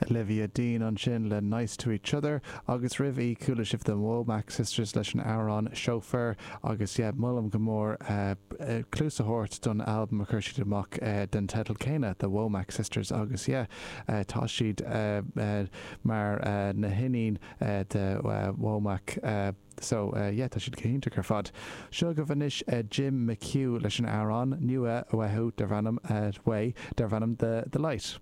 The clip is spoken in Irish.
Olivia Dean ansin le Nice to Each Other agus roimh í chuala sibh The Womack Sisters leis an amhrán Chauffeur agus yeah molaim go mór cluas a thabhairt don albam a chuir siad amach den teideal céanna The Womack Sisters agus yeah tá siad mar na hiníon de Womack so yeah tá siad go hiontach ar fad. Seo agaibh anois Jim McHugh leis an amhrán nua uathu darb ainm uaidh darb ainm The The Light.